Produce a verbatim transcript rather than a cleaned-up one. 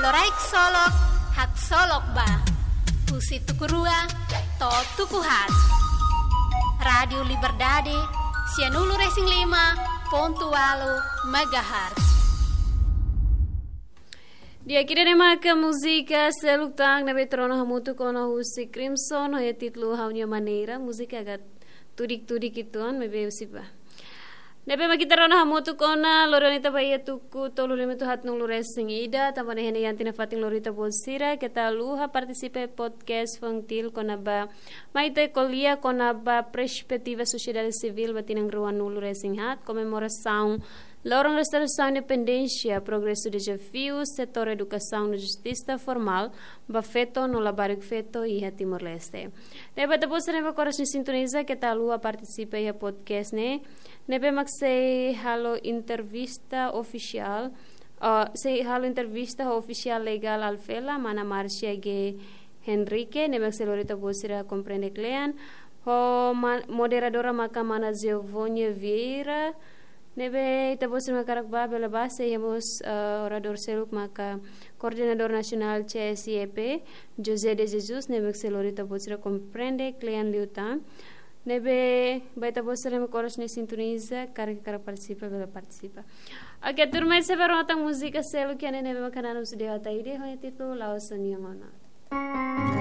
Loraik solok, haksolok ba. Husi tuku rua to'o tuku haat. Rádiu Liberdade, sianulu-resin-lima pontu ualu megahertz. Di'ak, ida-ne'e maka múzika seluk tan ne'ebé ita rona hamutuk ona husi Crimson, ho títulu Ha'u-nia Maneira, múzika agak tudik-tudik uitoan, maibé husi ba. Ne'ebé mak ita rona hamutuk ona, lori ona ita ba iha tuku tolu lima to'o haatnulu-resin-ida, tanba ne'e iha ne'e iha ita-nia fatin lori ita-boot sira, keta haluha partisipa podcast FUNCTIL kona-ba mai ita ko'alia kona-ba perspetiva sosiedade sivíl ba tinan ruanulu-resin-haat, komemorasaun loron restaurasaun independénsia, progresu, dezafiu setór edukasaun no justisa formál ba feto no labarik feto iha Timor-Leste. Ne'ebé ita-boot sira ne'ebé oras ne'e sintoniza, keta haluha partisipa iha podcast ne'e, ne'ebé mak sei halo entrevista ofisiál, ah, sei halo entrevista ho ofisiál legál Alfela, mana Márcia G Henrique, ne'ebé mak sei lori ita-boot sira komprende kle'an, ho ma-, moderadora maka mana Giovânia Vieira, ne'ebé ita-boot sira mak hakarak bá, bele bá, sei iha mós, eh, oradór seluk maka koordenadór nasionál C S I E P, José de Jesus, ne'ebé mak sei lori ita-boot sira komprende kle'an liután. Ne'ebé ba ita-boot sira ne'ebé oras ne'e sintoniza, karik hakarak partisipa, bele partisipa. Oke, tuirmai sei bá rona tan múzika seluk iha ne'e, ne'ebé mak hanesan husi Dewa Ataide, ho títulu La'ós Ó-nia Ona.